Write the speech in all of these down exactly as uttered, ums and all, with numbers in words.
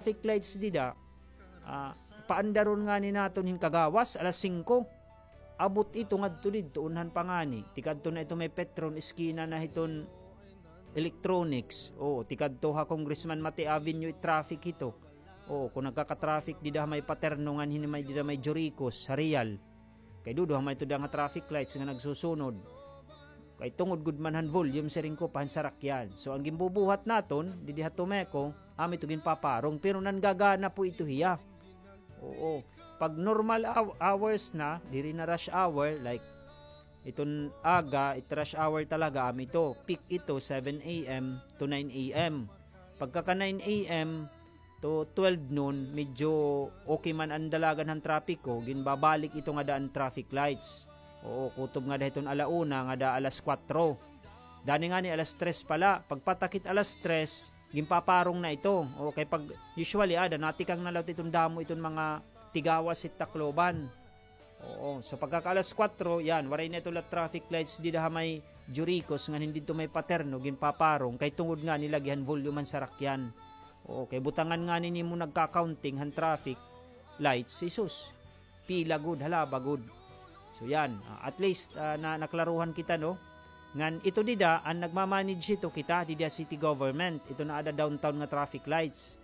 traffic lights dida, ah, paandaron ngani naton hin kagawas, alas singko. Abot ito ngadto didto, unhan pa ngani. Tikadto na ito may Petron, eskina na hiton Electronics. Oo, tikadto ha Congressman Mate Avenue, traffic ito. Oo, kon nagkaka-traffic dida ha may Paterno ngan hini may dida may Juricos, ha Real. Kay duduha man ito dida nga traffic lights nga nagsusunod. Kay tungod gud man han volume, siring ko, pa han sarakyan. So, an ginbubuhat naton, didi ha Tomeco, amo ito ginpaparong. Pero nangagana po ito hiya. Oo. Pag normal hou-, hours na, diri na rush hour, like, iton aga, it rush hour talaga, amo ito. Peak ito, seven A M to nine A M. Pagkaka nine A M, to twelve noon, medyo okay man an dalagan han trapiko, ginbabalik ito ngada an traffic lights. Oo, kutob ngada hiton ala una, ngada alas kuwatro. Dani ngani alas tres pala. Pagpatakit alas tres, ginpaparong na ito. O, kay pag, usually, ada, natikang na la iton damo iton mga tigawas hit Tacloban. Oo. So, pagkaka alas kuwatro, yan, waray na ito la traffic lights dida ha may Juricos, ngan hini didto may Paterno, ginpaparong, kay tungod ngani lagi han volume han sarakyan. Oo, kay butangan ngani nimo nagka-counting han traffic lights, Jesus. Pila gud, halaba gud. So, yan, ah, at least, ah, na, naklaruhan kita, no? Ngan ito dida, an nagmamanage hito kita, dida city government. Ito na ada downtown nga traffic lights.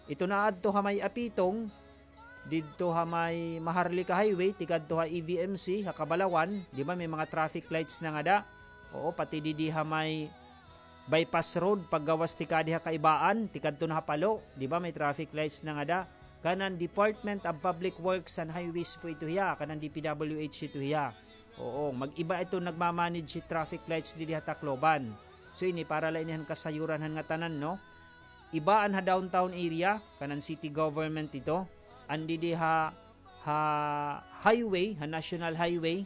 Ito na adto ha may Apitong, didto ha may Maharlika Highway, tikadto ha E V M C, ha Kabalawan, di ba may mga traffic lights na ngada? Oo, pati didi ha may Bypass Road, paggawas tikadi ha Kaibaan, tikadto na ha Palo, di ba may traffic lights na ngada? Kanan Department of Public Works and Highways po ito hiya, kanan D P W H ito hiya. Oo, mag-iba ito nagmamanage hi traffic lights didi ha Tacloban. So ini para la ini han kasayuran han ngatanan, no? Iba an ha downtown area, kanan city government ito. An didi ha, ha highway, ha national highway,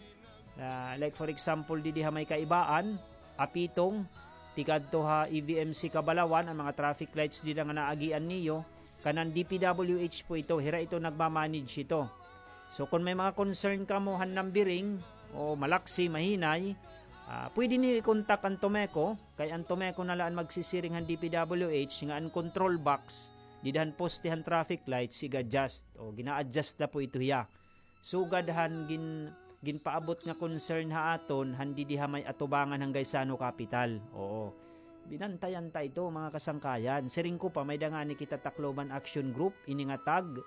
ah, like for example, didi ha may Kaibaan, Apitong, tikadto ha E V M C Kabalawan, an mga traffic lights dida nga naagian niyo, kanan D P W H po ito, hira ito nagmamanage ito. So, kon may mga concern kamo han numbering, o malaksi, mahinay, ah, pwede niyo i-contact an Tomeco, kay an Tomeco na la an magsisiring han D P W H nga an control box, dida han poste han traffic lights, iga-adjust. O, gina-adjust na po ito hiya. Sugad han gin-, ginpaabot nga concern ha aton, han didi ha may atubangan han Gaisano Capital. Oo. Binantayan ta ito, mga kasangkayan. Siring ko pa, may-ada ngani kita Tacloban Action Group, ini nga tag.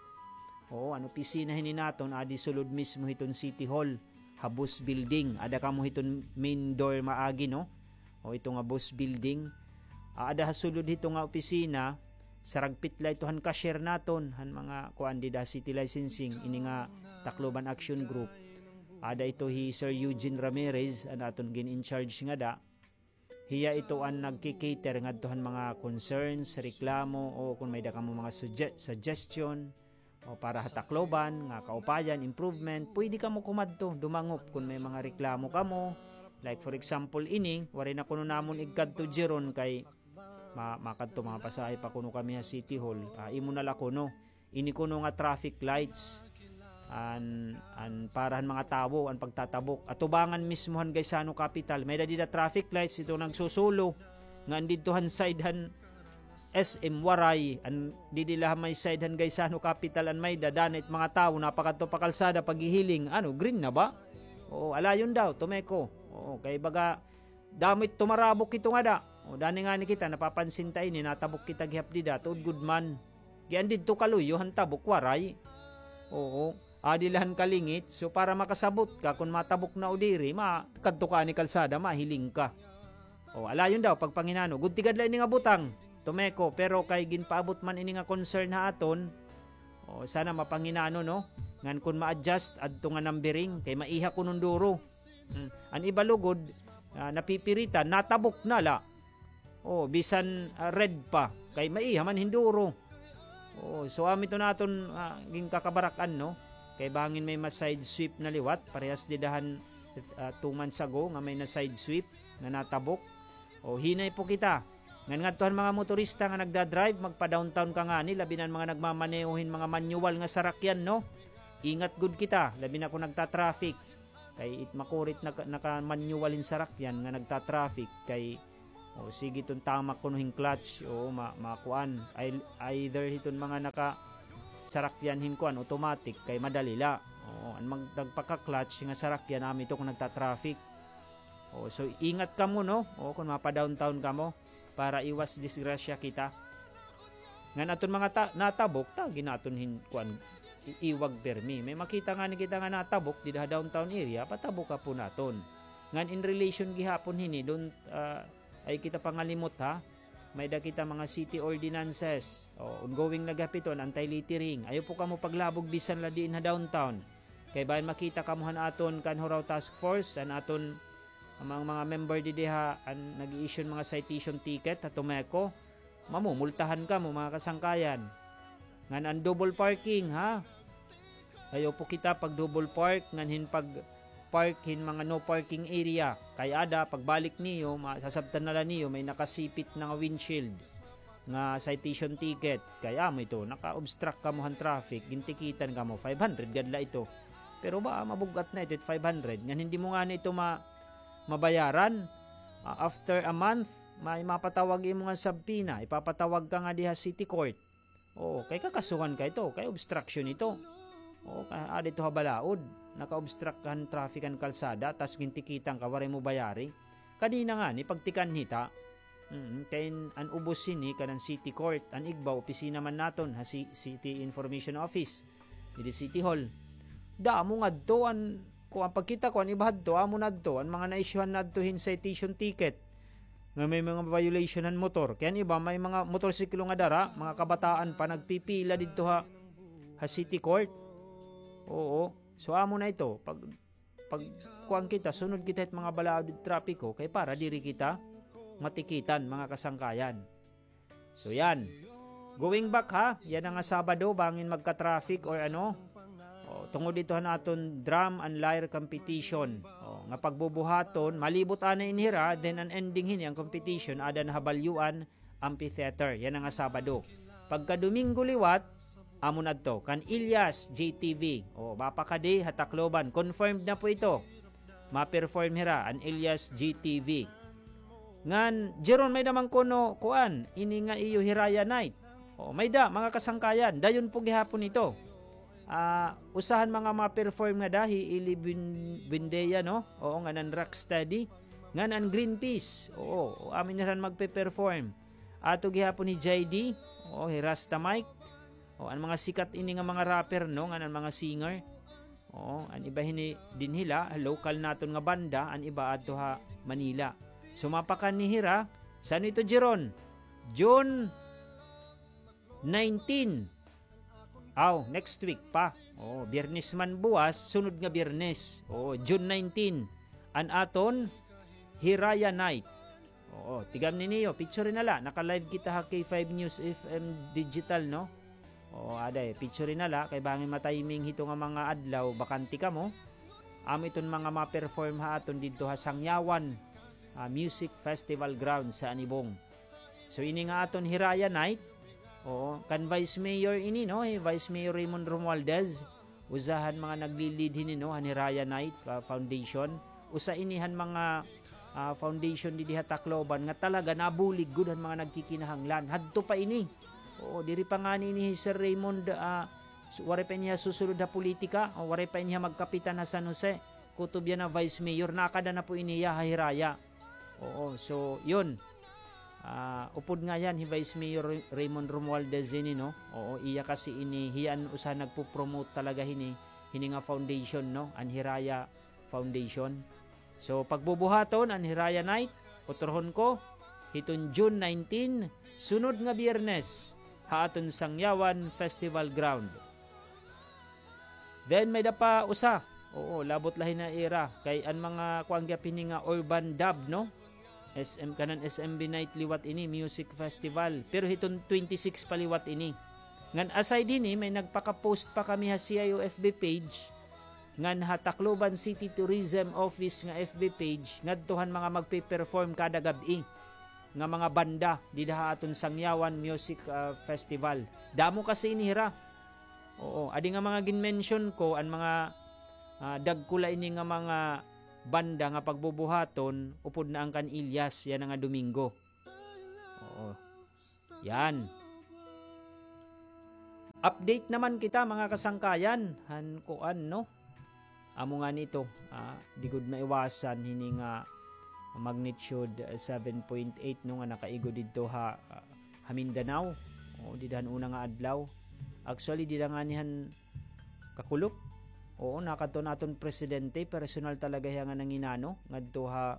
Oo, an opisina hini naton, adi sulod mismo hiton City Hall, ha Boss Building. Ada kamo hiton main door maagi, no? O, ito nga Boss Building. Ah, ada ha sulod hito nga opisina, saragpit la ito han cashier naton, han mga kuan dida ha City Licensing, ini nga Tacloban Action Group. Ada ito hi Sir Eugene Ramirez, an aton gin-in-charge ngada. Hiya ito an nagki-cater ngadto han mga concerns, reklamo, o kon may-ada kamo mga sugge-, suggestion, o para ha Tacloban nga kaupayan, improvement, pwede kamo kumadto, dumangop kon may mga reklamo kamo. Like for example, ini, waray na kuno namon igkadto jeron kay ma-, makadto, mga pasahe pa kuno kami ha City Hall. Ah, imo na la kuno. Ini kuno nga traffic lights. An, an para han mga tawo, an pagtatabok. Atubangan mismo han Gaisano Capital. May-ada dida traffic lights, ito nagsusulo. Nga an didto han side han S M waray, an didi la ha may side han Gaisano Capital an may-ada, danay it mga tawo, napakadto pa kalsada, paghihiling, ano, green na ba? Oo, alayon daw, Tomeco. Oo, kay baga, damo it tumarabok ito ngada. O, dani ngani kita, napapansin ta ini, natabok kita gihap dida, tuod gud man. Kay an didto kaluyo, han tabok, waray. Oo. Adi la han kalingit. So, para makasabot ka kon matabok na o diri, ma-, kadto ka ani kalsada, mahiling ka. O, alayon daw, pagpanginano. Gud tigad la ini nga butang, Tomeco, pero kay ginpaabot man ini nga concern ha aton, o, sana mapanginano, no? Ngan kon ma-adjust, adto nga numbering, kay maiha kuno hin duro. Hmm. An iba lugod, ah, napipiritan, natabok na la. O, bisan, ah, red pa. Kay maiha man hin duro. O, so, amo ito an aton, ah, ginkakabarak-an, no? Kay bangin may ma-side sweep na liwat, parehas dida han, ah, two months ago nga may na-side sweep nga natabok. O, hinay po kita. Ngan ngadto han mga motorista nga nagda-drive, magpa-downtown ka ngani, labi na an mga nagmamaneho hin mga manual nga sarakyan, no? Ingat gud kita, labi na kon nagta-traffic. Kay it makuri it naka-, naka-manual hin sarakyan nga nagta-traffic, kay O, sige iton tamak kuno hin clutch. O, ma-, makuan. Ay, either hiton mga naka-, sarakyan hin kuan, automatic, kay madali la. O, an mag-, nagpaka-clutch nga sarakyan, amo ito kon nagta-traffic. O, so, ingat kamo, no? O, kon mapa-downtown kamo, para iwas disgrasya kita. Ngan aton mga ta-, natabok, tagi naton hin, kuan, i-, iwag pirmi. May makita ngani kita nga natabok dida ha downtown area, pataboka po naton. Ngan in relation gihapon hini, don, ah, ay kita pangalimot, ha? May-ada kita mga city ordinances. O, ongoing na gihap ito, an anti-littering. Ayaw po kamo paglabog bisan la diin ha downtown. Kay bangin makita kamo han aton Kanhuraw Task Force, an aton, an mga, mga member didi ha, an nag-i-issue hin mga citation ticket ha Tomeco, mamumultahan kamo, mga kasangkayan. Ngan an double parking, ha? Ayaw po kita pag-double park, ngan hin pag-park hin mga no parking area. Kay ada, pagbalik niyo, masasabtan na la niyo, may nakasipit na nga windshield nga citation ticket. Kay amo ito, naka-obstruct kamo han traffic, gintikitan kamo, five hundred gad la ito. Pero ba, mabug-at na ito, five hundred. Ngan hindi mo ngani ito ma-, mabayaran. Ah, after a month, may mapatawag imo nga subpoena, ipapatawag ka ngadi ha city court. Oo, kay kakasuhan ka ito, kay obstruction ito. Oo, ka-, adi ito ha balaod, naka-obstruct han traffic an kalsada, tas gintikitan ka, waray mo bayari. Kanina ngani, pagtikan hita. Mm, kay an ubos hini, kanan city court, an igba, opisina man naton, ha ci-, city information office, didi city hall. Damo ngadto, an, kuan, pagkita ko, an iba hadto, amo nadto, an mga na-issuehan nadto hin citation ticket. Nga may mga violation han motor. Kay an iba, may mga motorsiklo nga dara, mga kabataan pa, nagpipila didto ha, ha city court. Oo. So, amo na ito. Pag, pag, kuan kita, sunod kita hit mga balaod hit trapiko, kay para diri kita matikitan, mga kasangkayan. So, yan. Going back, ha, yana nga Sabado, bangin magka-traffic or ano, o, tungod ito han aton drum and lyre competition. O, nga pagbubuhaton, malibot anay ini hira, then an ending hini, an competition, ada na ha Balyuan Amphitheater. Yana nga Sabado. Pagka Domingo liwat, amo na adto, kan Ilyas J T V. O, mapakadi ha Tacloban. Confirmed na po ito. Ma-perform hira, an Ilyas J T V. Ngan, Jeron, may-ada man kuno, kuan, ini nga iyo Hiraya Night. O, may-ada, mga kasangkayan, dayon po gihapon ito. Ah, usa han mga ma-perform ngada, hi Eli Bun-, Buendia, no? Oo, ngan an Rocksteady. Ngan an Greenpeace. Oo, amo ini hira an magpe-perform. Ato gihapon hi J D. Oo, hi Rasta Mike. O, an mga sikat ini nga mga rapper, no? Ngan an mga singer. Oo, an iba hini dinhi la, local naton nga banda, an iba adto ha Manila. So, mapakanhi hira, san-o ito, Jeron? June nineteen. Aw, next week pa. Oo, Biyernes man buwas, sunod nga Biyernes. Oo, June nineteen. An aton Hiraya Night. Oo, tigamni niyo, picture na la. Naka-live kita ha K five News F M Digital, no? Oo, aday, picture na la. Kay bangin ma-timing hito nga mga adlaw, bakante kamo. Amo iton mga ma-perform ha aton didto ha Sangyawan, ah, Music Festival Grounds sa Anibong. So, ini nga aton Hiraya Night, oo, kan Vice Mayor ini, no? Hi Vice Mayor Raymond Romualdez. Usa han mga nagli-lead hini, no, han Hiraya Night, ah, Foundation. Usa ini han mga, ah, foundation didi ha Tacloban nga talaga nabulig gud han mga nagkikinahanglan. Hadto pa ini. Oo, diri pa ngani ini hi Sir Raymond, ah, su-, waray pa ini hiya susulod ha politika, o waray pa ini hiya magkapitan ha San Jose. Kutob yana Vice Mayor, nakada na po ini hiya ha Hiraya. Oo, so, yun. Ah, upod nga yan, hi Vice Mayor Ray-, Raymond Romualdez ini, no? Oo, iya kasi ini, hiya an usa nagpo-promote talaga hini, hini nga foundation, no? An Hiraya Foundation. So, pagbubuhaton an Hiraya Night, utrohon ko, hiton June nineteen, sunod nga Biyernes, ha aton Sangyawan Festival Ground. Then, may-ada pa usa. Oo, labot la hini ha ira. Kay an mga kuan gihap hini nga urban dub, no? S M, kanan S M B Night liwat ini, music festival. Pero hiton twenty-six pa liwat ini. Ngan aside hini, may nagpaka-post pa kami ha C I O F B page. Ngan ha Tacloban City Tourism Office nga F B page, ngadto han mga magpe-perform kada gab-i nga mga banda dida ha aton Sangyawan Music, ah, Festival. Damo kasi ini hira. Oo, adi nga mga gin-mention ko, an mga, ah, dagko la ini nga mga banda nga pagbubuhaton, upod na an kan Ilyas, yana nga Domingo. Yan. Update naman kita, mga kasangkayan. Han kuan, no? Amo ngani ito, ah, di gud maiwasan hini nga magnitude, ah, seven point eight, no, nga nakaigo didto ha, ah, ha Mindanao. O, dida han una nga adlaw. Actually, dida ngani han Kakulop. Oo, nakadto an aton presidente, personal talaga hiya nga nanginano ngadto ha,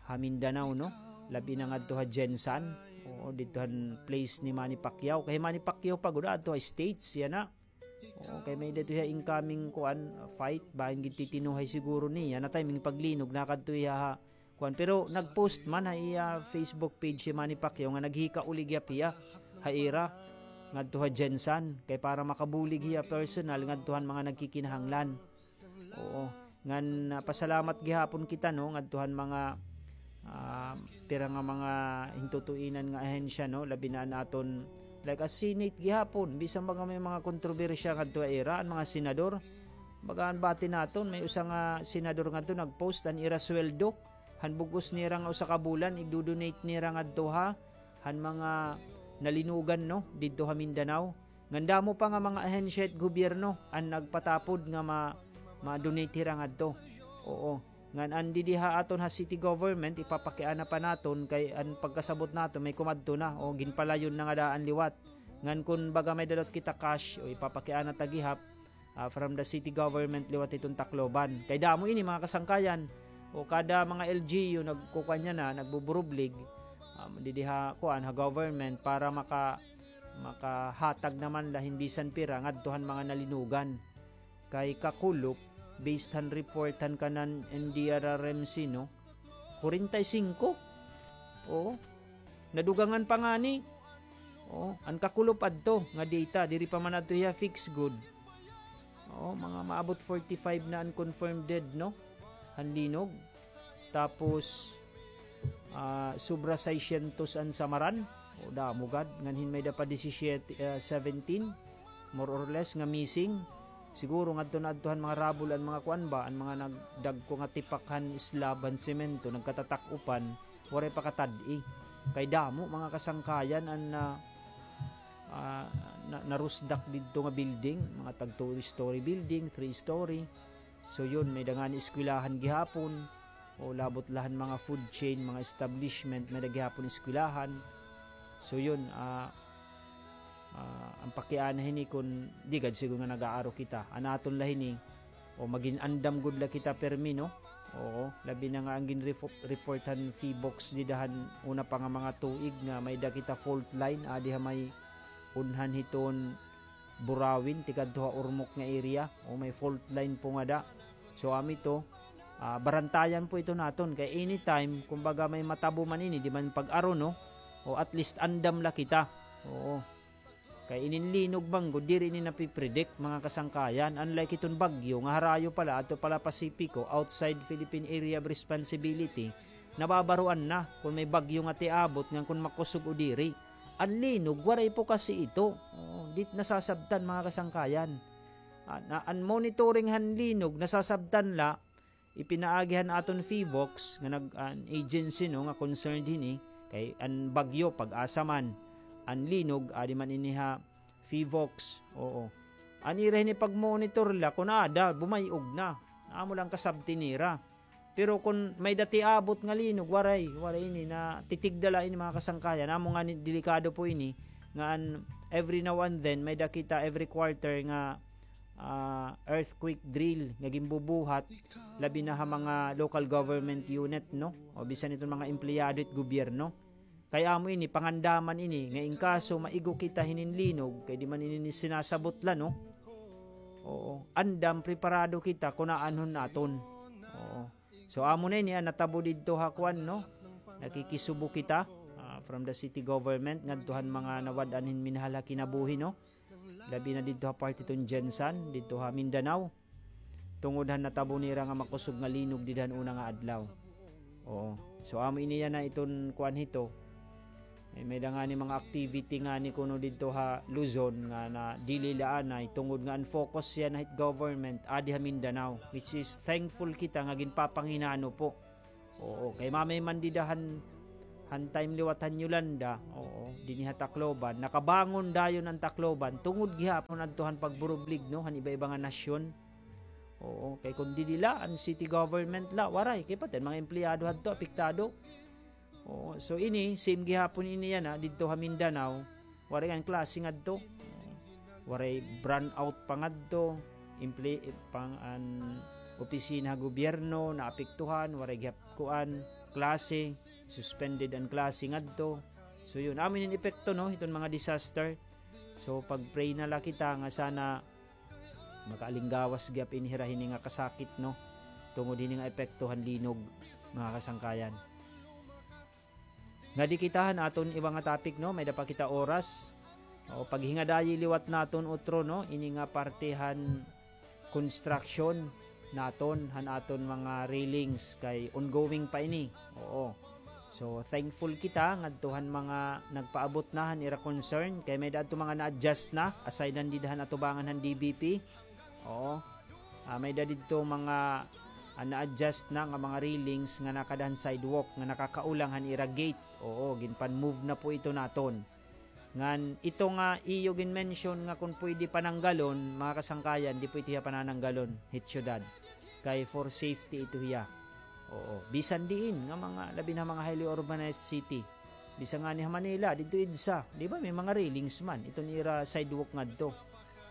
ha Mindanao, no? Labi na ngadto ha GenSan. Oo, didto han place ni Manny Pacquiao. Kay Manny Pacquiao pa gud adto ha States, yana. Oo, kay may-ada ito hiya incoming kuan, fight, bangin gintitinuhay siguro niya. Na time ning paglinog, nakadto hiya ha kuan. Pero nag-post man ha iya Facebook page si Manny Pacquiao nga naghikauli gihap hiya ha ira ngadto ha GenSan, kay para makabulig hiya personal ngadto han mga nagkikinahanglan. Oo. Ngan, ah, pasalamat gihapon kita, no, ngadto han mga, ah, pira nga mga hintutuinan nga ahensya, no, labi na an aton, like, as Senate gihapon, bisan baga may mga kontrobersiya ngadto ha ira, an mga senador, baga an bati naton, may usa nga senador ngadto nag-post an ira sweldo, han bug-os nira nga usa ka bulan, igdo-donate nira ngadto ha, han mga nalinugan, no, didto ha Mindanao. Ngan damo pa nga mga ahensya hit gobyerno an nagpatapod nga ma-, ma-donate hira ngadto. Oo. Ngan an didi ha aton ha city government, ipapakiana pa naton kay an pagkasabot naton may kumadto na o ginpalayon na nga daan liwat. Ngan kun baga may-ada liwat kita cash, o ipapakiana ta gihap, ah, from the city government liwat hiton Tacloban. Kay damo ini, mga kasangkayan. O kada mga L G U nagkukuan niya na, nagbuburublig, um, didi ha, kuan, ha government para maka-, makahatag naman la hin bisan pira ngadto han mga nalinugan. Kay Kakulop, based han report han kanan N D R R M C, no, kwarenta y singko. Oo. Nadugangan pa ngani. Oo, an Kakulop adto nga data, diri pa man adto hiya fix gud. Oo, mga maabot forty-five na an confirmed dead, no? Han linog. Tapos, ah, sobra seiscientos an samaran. O, damo gad. Ngan hin may-ada pa disisiete, ah, seventeen, more or less, nga missing. Siguro ngadto na adto han mga rabol an mga kuan ba, an mga nagdagko nga tipak han slab, han semento, nagkatatak-upan, waray pa katad-i. Kay damo, mga kasangkayan, an, ah, ah, na-, narusdak didto nga building, mga tag two-story building, three-story. So yun, may-ada ngani eskwelahan gihapon, o labot la han mga food chain, mga establishment, may-ada gihapon eskwelahan. So yun, ah, ah, an pakiana hini kun di gad siguro nga nag-aaro kita. An aton la hini, o magin andam gud la kita permi, no? Oo, labi na nga an ginrefo-, report han PHIVOLCS dida han una pa nga mga tuig nga may-ada kita fault line, adi ha may unhan hiton Burawin, tikadto ha Ormoc nga area, o may fault line po ngada. So, amo ito, ah, barantayan po ito naton. Kay anytime, kumbaga may matabo man ini, di man pag-aro, no? O at least andam la kita. Oo. Kay inin linog man gud, diri ini napipredict, mga kasangkayan. Unlike iton bagyo, nga harayo pala, adto pala Pasipiko, outside Philippine Area of Responsibility, nababaroan na kon may bagyo nga tiabot ngan kon makusog o diri. An linog, waray po kasi ito. Oo, di nasasabtan, mga kasangkayan. An, an monitoring han linog, nasasabtan la, ipinaagi han aton PHIVOLCS nga nag-, an agency, no, nga concerned hini, kay an bagyo, pag-asa man, an linog, adi man ini ha PHIVOLCS, oo. An ira hini pag-monitor la, kun aada, bumay-og na. Amo lang kasabti nira. Pero kun may-ada tiabot nga linog, waray, waray ini, natitigda la ini, mga kasangkayan. Amo ngani, delikado po ini, nga an, every now and then, may-ada kita every quarter nga ah, earthquake drill nga ginbubuhat, labi na ha mga local government unit, no? O bisan iton mga empleyado it gobyerno. Kay amo ini, pangandaman ini, nga in kaso maigo kita hinin linog, kay di man ini sinasabot la, no? Oo. Andam, preparado kita, kun aanhon naton. Oo. So, amo na ini, ah, natabo didto ha kuan, no? Nakikisubo kita, ah, from the city government, ngadto han mga nawad-an hin minahal ha kinabuhi, no? Labi na didto ha parte hiton GenSan, didto ha Mindanao. Tungod han natabo nira nga makusog nga linog dida han una nga adlaw. Oo. So, amo ini yana iton kuan hito. Eh, may-ada ngani mga activity ngani kuno didto ha Luzon nga na-delay la anay tungod nga an focus yana hit government adi ha Mindanao, which is thankful kita nga ginpapanginano po. Oo, kay mamay man dida han han time liwat han Yolanda, oo, dinhi ha Tacloban, nakabangon dayon an Tacloban, tungod gihapon adto han pagburublig, no, han iba-iba nga nasyon. Oo, kay kon didi la, an city government la, waray, kay pati an mga empleyado hadto, apektado. Oo, so ini, same gihapon ini yana, didto ha Mindanao, waray an klase ngadto. Waray brownout pa ngadto, emple-, pang an opisina ha gobyerno, naapektuhan, waray gihap kuan, klase, suspended an klase ngadto. So yun, amo ini an epekto, no, hiton mga disaster. So pag-pray na la kita nga sana makaalinggawas gihap ini hira hini nga kasakit, no, tungod hini nga epekto han linog, mga kasangkayan. Ngadi kita han aton iba nga topic, no, may-ada pa kita oras. O, paghingadayi liwat naton utro, no, ini nga parte han construction naton han aton mga railings kay ongoing pa ini. Oo. So, thankful kita ngadto han mga nagpaabot na han ira concern kay may-ada adto mga na-adjust na, aside han dida han atubangan han D B P. Oo. Ah, may-ada didto mga, ah, na-adjust na nga mga railings nga nakada han sidewalk nga nakakaulang han ira gate. Oo, ginpan-move na po ito naton. Ngan ito nga iyo gin-mention nga kon pwede pananggalon, mga kasangkayan, di po ito hiya panananggalon hit syudad. Kay for safety ito hiya. Oo. Bisan diin nga mga, labi na mga highly urbanized city. Bisan ngani ha Manila, didto EDSA, di ba, may mga railings man. Iton ira sidewalk ngadto.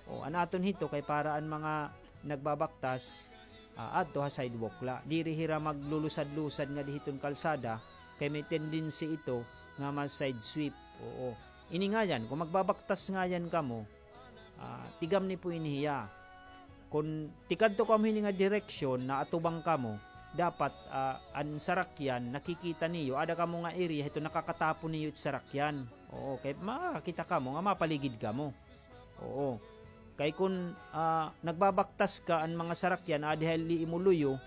O, an aton hito kay para an mga nagbabaktas, ah, adto ha sidewalk la. Diri hira maglulusad-lusad ngadi hiton kalsada, kay may tendency ito nga ma-side sweep. Oo. Ini ngayan, kon magbabaktas ngayan kamo, ah, tigam ni po ini hiya. Kon tikadto kamo hini nga direksyon, naatubang kamo, dapat, ah, an sarakyan, nakikita niyo, ada kamo nga area, hito nakakatapon niyo it sarakyan. Oo, kay makakita kamo nga mapaligid kamo. Oo. Kay kon, ah, nagbabaktas ka an mga sarakyan, adi ha imo luyo,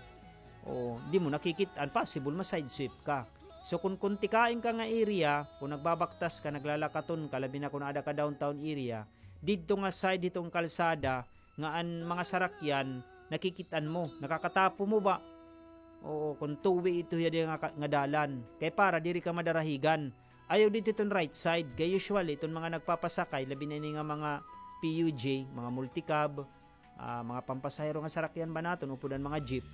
oo, di mo nakikit-an, possible ma-side sweep ka. So, kon, kon tikain ka nga area, kon nagbabaktas ka, naglalakaton ka, labi na kon ada ka downtown area, didto nga side hiton kalsada, nga an mga sarakyan, nakikit-an mo, nakakatapo mo ba? Oo, kon two-way ito hiya nga, nga dalan. Kay para diri ka madarahigan. Ayaw didto iton right side. Kay usually, iton mga nagpapasakay, labi na ini nga mga P U J, mga multicab, ah, mga pampasahero nga sarakyan ba naton, upod an mga jeep.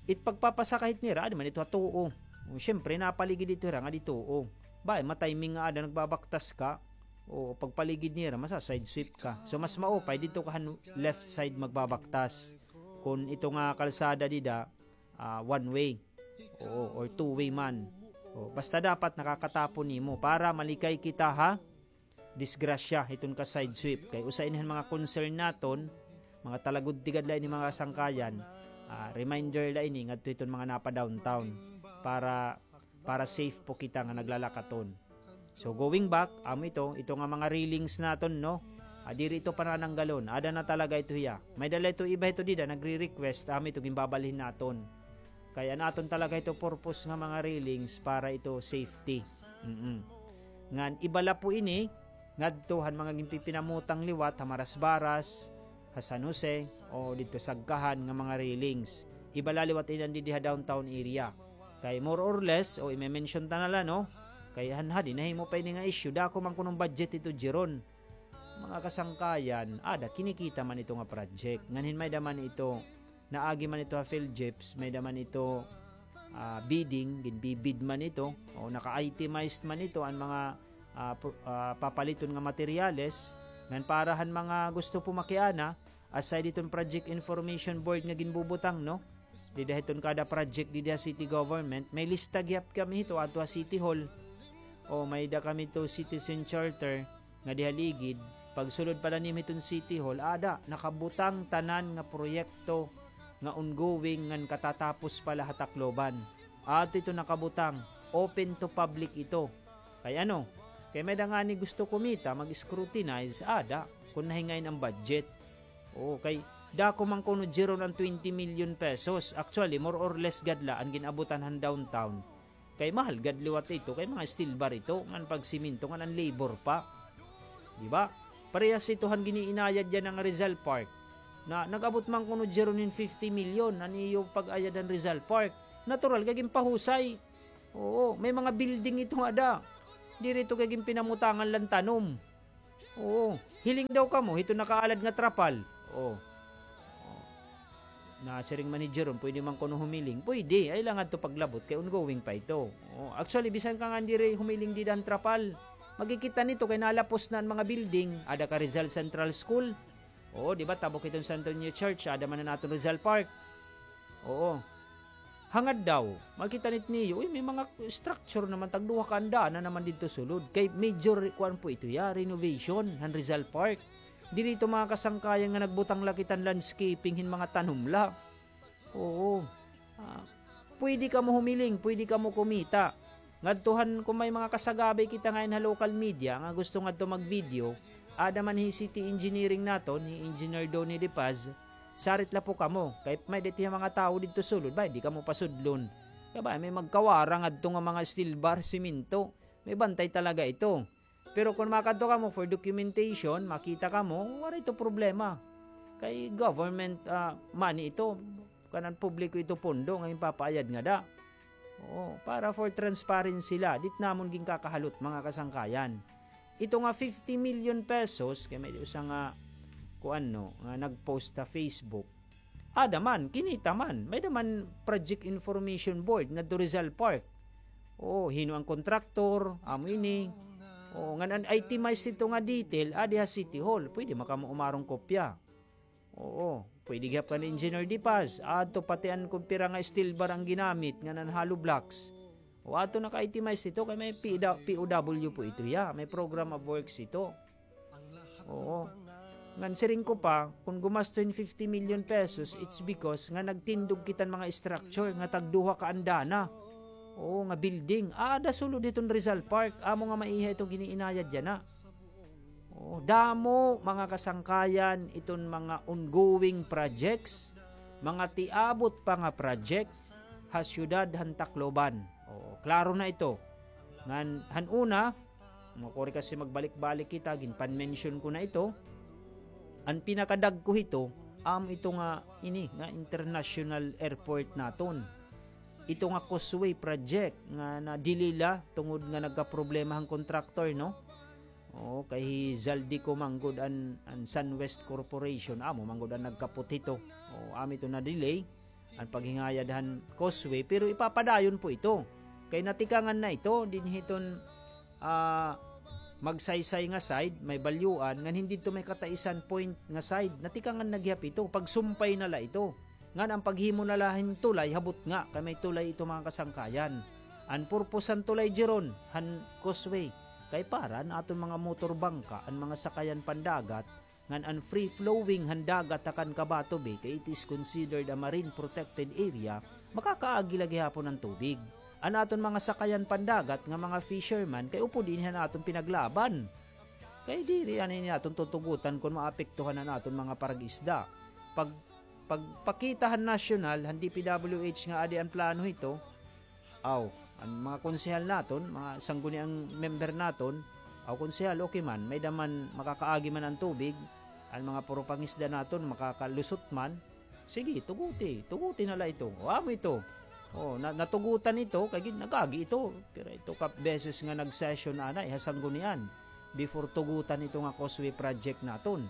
It pagpapasakay hit nira, adi man ito ha tuo. O, syempre, napaligid ito hira nga di tuo. Ba, matiming nga ada nagbabaktas ka, o pagpaligid nira, masa-side sweep ka. So, mas maupay, didto ka han left side magbabaktas. Kon ito nga kalsada dida, ah, one way. Oo, or two way man. O, basta dapat nakakatapon nimo para malikay kita ha disgrasya hiton ka side sweep. Kay usa ini han mga concern naton, mga talagudtigad la ini mga kasangkayan, ah, reminder la ini ngadto hiton mga napa-downtown para, para safe po kita nga naglalakaton. So, going back, amo ito, ito nga mga railings naton, no? Ah, diri ito panananggalon. Ada na talaga ito hiya. May-ada la ito iba ito dida, nagre-request, amo ito, ginbabalhin naton. Kay an aton talaga ito purpose nga mga railings para ito safety. Mm-mm. Ngan iba la po ini, ngadto han mga ginpipinamutang liwat ha Marasbaras, ha San Jose, o didto Sagkahan nga mga railings. Iba la liwat ini an didi ha downtown area. Kay more or less, o ime-mention ta na la, no? Kay han hadi nahimo pa ini nga issue, dako man kuno an budget ito, Jeron. Mga kasangkayan, ada, kinikita man ito nga project. Ngan hin may-ada man ito, naagi man ito ha PhilGEPS, may-ada man ito, ah, bidding, ginbibid man ito, o naka-itemized man ito an mga, ah, pro-, ah, papaliton nga materyales. Ngan para han mga gusto po makiana, aside hiton Project Information Board nga ginbubutang, no? Dida hiton kada project dida ha city government, may lista gihap kami hito adto ha City Hall. O may-ada kami to citizen charter nga diha ligid. Pagsulod pa la nimo hiton City Hall, ada, nakabutang tanan nga proyekto nga ongoing ngan katatapos pa la ha Tacloban. Adto ito nakabutang, open to public ito. Kay ano? Kay may-ada ngani gusto kumita, mag-scrutinize, ada, kon nahingayon an budget. Oo, kay dako man kuno, Jeron, an twenty million pesos. Actually, more or less gad la an gin-abutan han downtown. Kay mahal gad liwat ito, kay mga steel bar ito, ngan pagsemento, ngan an labor pa. Di ba? Parehas ito han giniinayad yana nga Rizal Park. Na, nag-abot man kuno, Jeron, hin fifty million an iyo pag-ayad han Rizal Park. Natural kay ginpahusay. Oo, may mga building ito nga ada. Diri ito kay ginpinamutangan la hin tanom. Oo, hiling daw kamo hito nakaalad nga trapal. Oo. Nasiring man ni Jeron, pwede man kuno humiling. Pwede, ay la ngadto paglabot kay ongoing pa ito. Oo, actually, bisan ka nga diri humiling dida han trapal, makikita nito kay nalapos na an mga building. Ada ka Rizal Central School. Oo, di ba, tabok hiton Santo Niño Church, ada man an aton Rizal Park. Oo. Hangad daw, makita nit niyo, uy, may mga structure naman, tagduha ka andana naman didto sulod. Kay major, kuan po ito ya, renovation han Rizal Park. Diri ito, mga kasangkayan, nga nagbutang la kita hin landscaping hin mga tanom la. Oo. Ah, pwede kamo humiling, pwede kamo kumita. Ngadto han, kung may mga kasagabay kita ngayon ha local media nga gusto ngadto mag-video, ada man hi City Engineering naton, hi Engineer Donny De Paz, sarit la po kamo. Kay may-ada it iya mga tawo didto sulod, bay, di kamo pasudlon. Kay bay, may magkawara ngadto nga mga steel bar, semento. May bantay talaga ito. Pero kung makadto kamo for documentation, makita kamo, waray ito problema. Kay government, ah, money ito, kanan publiko ito pondo nga ginpapaayad ngada. Oo, para for transparency la, diri namon ginkakahalot, mga kasangkayan. Ito nga fifty million pesos, kay may usa nga, kuan no, nga nag-post ha Facebook. Ada man, kinita man. May-ada man Project Information Board ngadto Rizal Park. Oo, hin-o an kontraktor, amo ini. Oo, ngan an itemized ito nga detail, adi ha City Hall. Pwede man kamo umarong kopya. Oo, pwede gihap kan Engineer De Paz. Adto pati an kon pira nga steel bar an ginamit, ngan an hollow blocks. O, ato naka-itemize ito, kay may P W, P O W po ito, ya. May program of works ito. Oo. Ngan siring ko pa, kung gumasto hin fifty million pesos, it's because nga nagtindog kita hin mga structure nga tagduha ka andana. Oo, nga building. Ada sulod hiton Rizal Park, amo nga maiha iton gin-iinayad yana. Oo, damo, mga kasangkayan, iton mga ongoing projects, mga tiabot pa nga project ha siyudad han Tacloban. Oo, klaro na ito. Ngan, han una, makuri kasi magbalik-balik kita, ginpan-mention ko na ito. An pinakadagko hito, amo ito nga, ini, nga international airport naton. Ito nga causeway project nga na-delay la tungod nga nagkaproblema han contractor, no? Oo, kay hi Zaldy ko man gud an, an Sunwest Corporation, amo man gud an nagkapot hito. Oo, amo ito na-delay an paghingayad han causeway, pero ipapadayon po ito. Kay natikangan na ito, dinhi hiton, ah, Magsaysay nga side, may Balyuan, ngan hin didto may Cataisan Point nga side, natikangan na gihap ito, pagsumpay na la ito. Ngan an paghimo na la hin tulay ha butnga, kay may tulay ito, mga kasangkayan. An purpose han tulay, Jeron, han causeway, kay para an aton mga motor bangka, an mga sakayan pandagat, ngan an free flowing han dagat ha kan Cavite Bay, kay it is considered a marine protected area, makakaagi la gihapon an tubig. An aton mga sakayan pandagat nga mga fisherman, kay upod ini han aton pinaglaban. Kay diri anay ini aton tutugutan kon maapektuhan an aton mga parag-isda. Pag, pagpakita han nasyonal, han D P W H nga adi an plano hito, aw, an mga konsehal naton, mga sangguniang member naton, aw, konsehal, okay man, may-ada man, makakaagi man an tubig, an mga puro pangisda naton, makakalusot man, sige, tuguti, tuguti na la ito. O, amo ito. O, na, natugutan ito, kay gin-, nag-agi ito. Pero ito ka beses nga nag-session anay ha sanggunian before tugutan ito nga causeway project naton.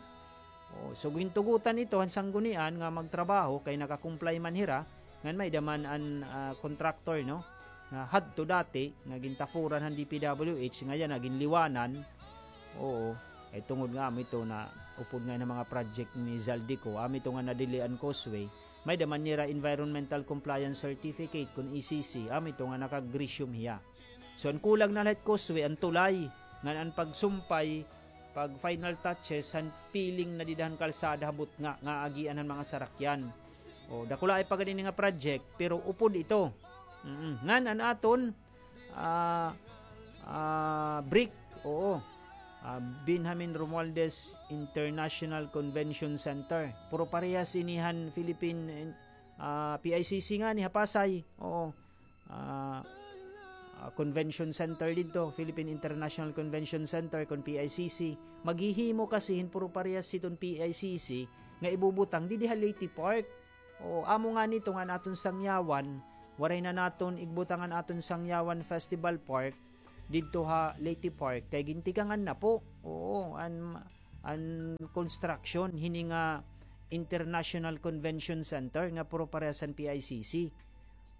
O, so gintugutan ito han sanggunian nga magtrabaho kay naka-comply man hira, ngan may-ada man an, ah, contractor, no? Nga hadto dati, nga gintapuran han D P W H, nga yana, ginliwanan. Oo, kay tungod nga amo ito na upod nga hin mga project ni Zaldy ko, amo ito nga na-delay an causeway, may-ada man nira environmental compliance certificate kon E C C, amo ito nga naka-grisyum hiya. So, an kulang na la hit causeway, an tulay, ngan an pagsumpay, pag-final touches, han piling na dida han kalsada ha butnga, nga agian han mga sarakyan. O, dakulaay pa gad ini nga project, pero upod ito. Mm-mm. Ngan an aton, ah, ah, BRIC, oo. Ah, Benjamin Romualdez International Convention Center. Puro parehas ini han Philippine, ah, P I C C ngani ha Pasay. Oo. Ah, ah, Convention Center didto, Philippine International Convention Center, kon P I C C. Maghihimo kasi hin puro parehas hiton P I C C nga ibubutang didi ha Leyte Park. O, amo ngani ito nga an aton sangyawan, Waray na naton igbutang an aton Sangyawan Festival Park didto ha Leyte Park kay gintikangan na po. Oo, an, an construction hini nga International Convention Center nga puro parehas han P I C C.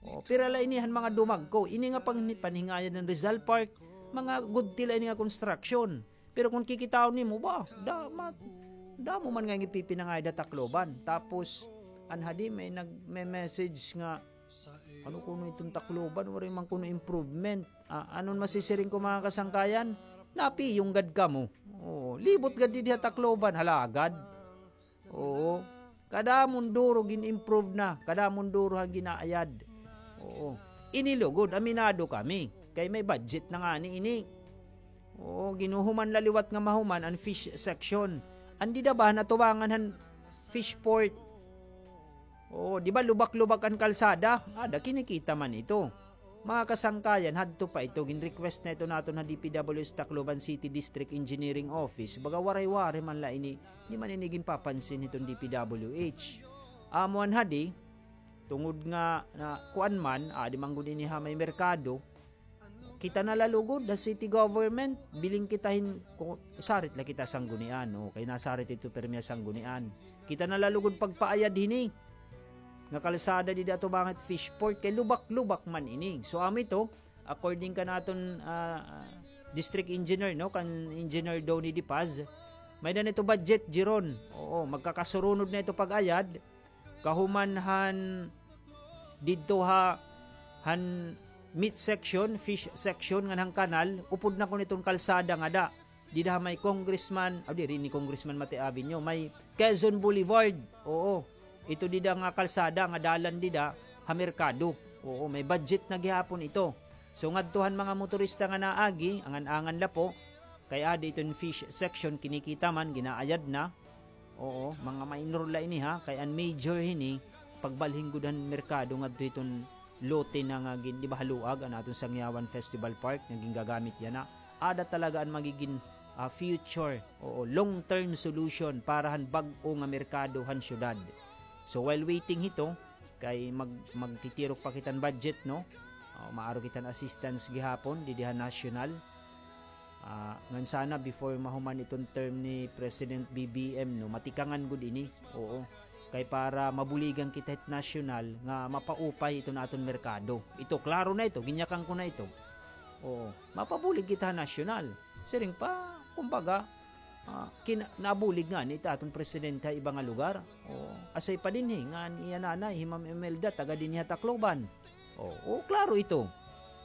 O, pira la ini han mga dumagko. Ini nga pang-, panhingayan han Rizal Park, mga gudti la ini nga construction. Pero kon kikitaon nimo, ba, da-, ma-, damo man nga ginpipinangayad ha Tacloban. Tapos, an hadi may nag-, may message nga, ano kuno iton Tacloban, waray man kuno improvement. Ah, anon masisiring ko, mga kasangkayan? Napiyong gad kamo. Oo, libot gad didi ha Tacloban, halagad. Oo. Kadamo nga duro gin-improve na, kadamo nga duro han ginaayad. Oo. Ini lugod, aminado kami. Kay may budget na ngani ini. Oo, ginhuhuman la liwat nga mahuman an fish section. An dida ba han atubangan han fish port? Oo, di ba lubak-lubak an kalsada? Ada, kinikita man ito. Mga kasangkayan, hadto pa ito, gin-request na ito naton ha D P W H Tacloban City District Engineering Office. Baga waray-waray man la ini, di man ini ginpapansin hiton D P W H. Amo an hadi, tungod nga, na, kuan man, adi man gud ini ha may merkado, kita na la lugod ha city government, biling kita hin, ku-, sarit la kita Sanggunian, o, kay nasarit ito pirmi ha Sanggunian. Kita na la lugod pagpaayad hini nga kalsada dida atubangan hit fish port kay lubak-lubak man ini. So, amo ito, according kan aton, ah, ah, district engineer, no, kan Engineer Donny De Paz, may-ada na ito budget, Jeron. Oo, magkakasurunod na ito pag-ayad. Kahuman han didto ha, han meat section, fish section ngan han kanal, upod na kuno iton kalsada nga ada. Dida ha may Congressman, ah, diri ini Congressman Mate Avenue, may Quezon Boulevard. Oo. Ito dida nga kalsada nga dalan dida ha merkado. Oo, may budget na gihapon ito. So, ngadto han mga motorista nga naagi, angan-angan la po, kay adi iton fish section, kinikita man, ginaayad na. Oo, mga minor la ini ha, kay an major hini, pagbalhin gud han merkado ngadto hiton lote na nga gin-, di ba, haluag an aton Sangyawan Festival Park nga gingagamit yana. Ada talaga an magigin, ah, future, oo, long-term solution para han bag-o nga merkado han syudad. So, while waiting hito, kay mag-, magtitirok pa kita hin budget, no? Ah, maaro kita hin assistance gihapon didi ha national. Ah, ngan sana before mahuman iton term ni President B B M, no, matikangan gud ini. Oo. Kay para mabuligan kita hit nasyonal nga mapaupay iton aton merkado. Ito, klaro na ito, ginyakan ko na ito. Oo. Mapabulig kita ha nasyonal. Siring pa, kumbaga, ah, kina-, nabulig ngani it aton presidente ha iba nga lugar. Oo. Asay pa dinhi, ngan iya nanay, hi Ma'am Imelda, taga dinhi ha Tacloban. Oo, oo, klaro ito.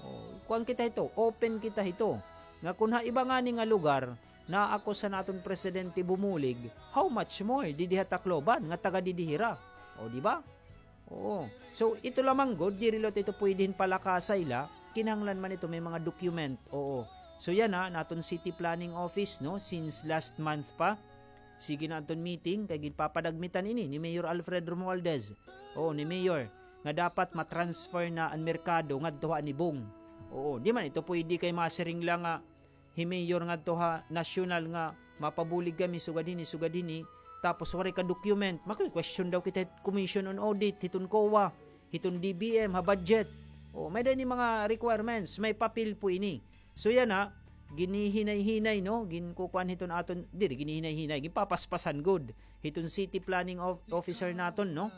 Oo, kuan kita hito, open kita hito. Nga kun ha iba ngani nga lugar, naakusa an aton presidente bumulig, how much more didi ha Tacloban nga taga didi hira? O, di ba? Oo. So, ito lamang gud, diri la ito pwede hin palakasay la, kinahanglan man ito may mga document. Oo. So, yana, an aton city planning office, no, since last month pa, sige na an aton meeting, kay ginpapadagmitan ini ni Mayor Alfred Romualdez. Oo, ni Mayor, nga dapat ma-transfer na an merkado ngadto ha Anibong. Oo, di man ito pwede kay masiring la nga hi Mayor ngadto ha nasyonal nga mapabulig kami sugad hini, sugad hini, tapos waray ka document. Maki-question daw kita hit Commission on Audit, hiton COA, hiton D B M, ha budget. O, may-ada ini mga requirements, may papel po ini. So, yana, ginihinay-hinay, no? Ginkukuan hiton aton, diri, ginihinay-hinay, ginpapaspasan gud hiton city planning of-, officer naton, no?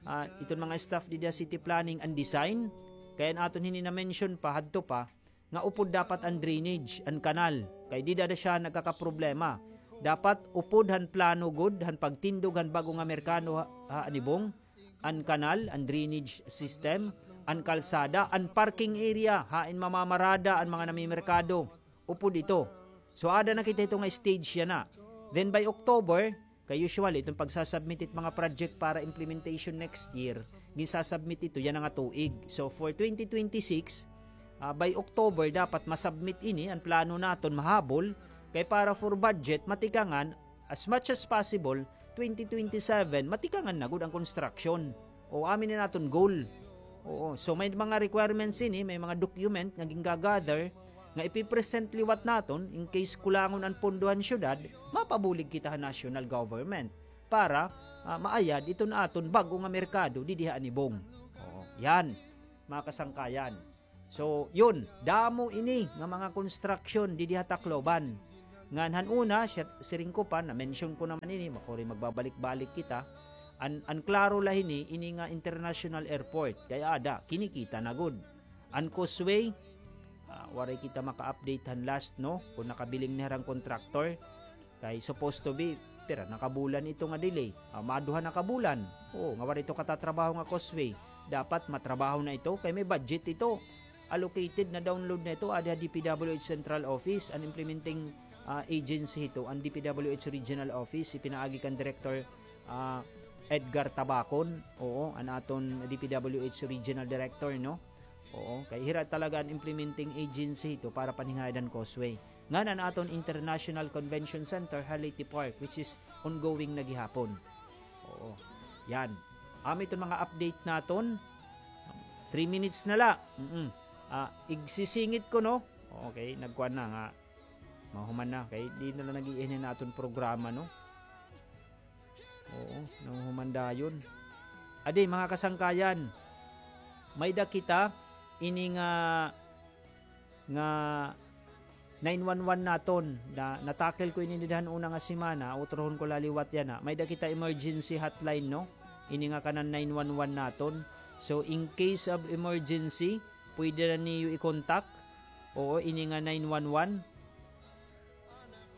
Ah, iton mga staff didi ha city planning and design. Kay an aton hini na-mention pa, hadto pa, nga upod dapat an drainage, an kanal. Kay dida na siya nagkakaproblema. Dapat upod han plano gud, han pagtindog han bag-o nga merkado ha, ha Anibong, an kanal, an drainage system, an kalsada, an parking area, hain mamamarada an mga namimerkado. Upod ito. So, ada na kita ito nga stage yana. Then by October, kay usually, iton pagsasubmit it mga project para implementation next year, ginsasubmit ito yana nga tuig. So, for twenty twenty-six, ah, by October, dapat masubmit ini, an plano naton mahabol, kay para for budget, matikangan, as much as possible, twenty twenty-seven, matikangan na gud an construction. O, amo ini an aton goal. Oo. So, may mga requirements ini, may mga document nga gingagather, nga ipipresent liwat naton, in case kulangon an pondo han syudad, mapabulig kita ha national government para, ah, maayad iton aton bag-o nga merkado didi ha Anibong. Oo, yan. mga kasangkayan. So, yun, damo ini nga mga construction didi ha Tacloban. Ngan han una, siya, siring ko pa, na-mention ko naman ini, makuri magbabalik-balik kita. An, an klaro la hini, ini nga international airport. Kay ada, kinikita na gud. An causeway, ah, waray kita maka-update han last, no? Kung nakabiling na hira an contractor. Kay supposed to be, pira na ka bulan ito nga delay? Ah, maduha na ka bulan. Oo, nga waray ito katatrabaho nga causeway. Dapat matrabaho na ito kay may budget ito. Allocated, na-download na ito, adi ha D P W H Central Office, an implementing, ah, agency ito, an D P W H Regional Office, ipinaagi kan Director, ah, Edgar Tabacon. Oo, an aton D P W H Regional Director, no? Oo, kay hira talaga an implementing agency ito para paninghayad han causeway. Ngan an aton International Convention Center ha Leyte Park, which is ongoing na gihapon. Oo. Yan. Amo iton mga update naton. Three minutes na la. Mm-mm. Ah, igsisingit ko, no? Okay, nagkuan na nga. Mahuman na. Kay di na la nag-iinhin an aton programa, no? Oo, nahuhuman dayon. Adi, mga kasangkayan, may-ada kita ini nga, nga nine one one naton. Na, natakil ko ini dida han una nga semana, utrohon ko la liwat yana. May-ada kita emergency hotline, no? Ini nga kanan nine one one naton. So, in case of emergency, pwede na niyo i-contact. Oo, ini nga nine one one.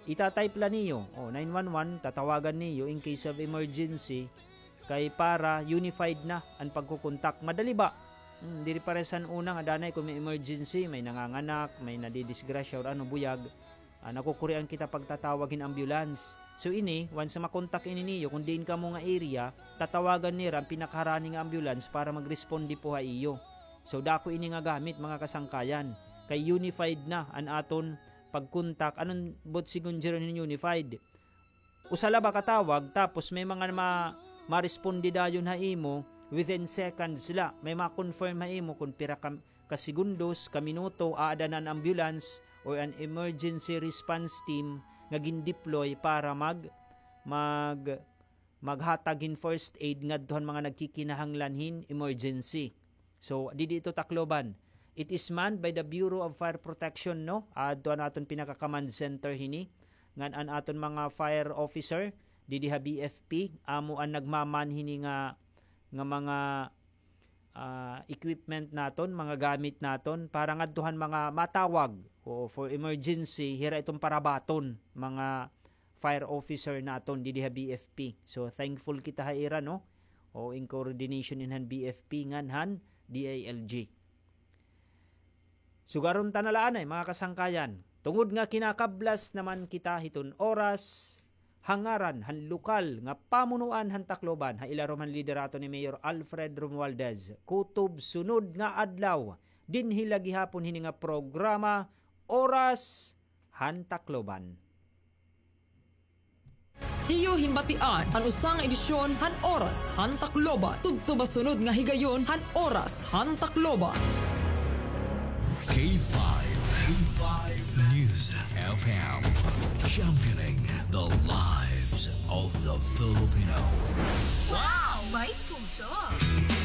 Ita-type la niyo, o, nine one one, tatawagan niyo in case of emergency, kay para unified na an pagkukontak. Madali ba? Hmm, diri pareha han una nga danay kon may emergency, may nanganganak, may nadidisgrasya or ano, buyag, ah, nakukurian kita pagtatawag hin ambulance. So ini, once makontak ini niyo, kon diin kamo nga area, tatawagan nira an pinakaharani nga ambulance para magresponde po ha iyo. So dako ini nga gamit, mga kasangkayan, kay unified na an aton pagkontak, ano an buot sigon diri hin unified? Usa la ba ka tawag, tapos may mga ma-, ma-responde dayon ha imo within seconds la. May ma-confirm ha imo kon pira ka, ka segundos, ka minuto, aada na an ambulance or an emergency response team nga gin-deploy para mag-, mag-, maghatag hin first aid ngadto han mga nagkikinahanglan hin emergency. So, didi ito Tacloban. It is manned by the Bureau of Fire Protection, no? Adto an aton pinaka-command center hini. Ngan an aton mga fire officer, didi ha B F P, amo an nagmaman hini nga, nga mga, ah, equipment naton, mga gamit naton, para ngadto han mga matawag. O, for emergency, hira iton parabaton, mga fire officer naton didi ha B F P. So, thankful kita ha ira, no? O, in coordination in han B F P ngan han D I L G. Sugaron ta na la anay, mga kasangkayan. Tungod nga kinakablas naman kita hiton oras, ha ngaran han lokal nga pamunuan han Tacloban, ha ilarom han liderato ni Mayor Alfred Romualdez, kutob sunod nga adlaw, dinhi la gihapon hini nga programa, Oras han Tacloban. Iyo himbatian an usa nga edisyon han Oras han Tacloban. Tubtob ha sunod nga higayon han Oras han Tacloban. K five, K five News F M, championing the lives of the Filipino. Wow! May puso!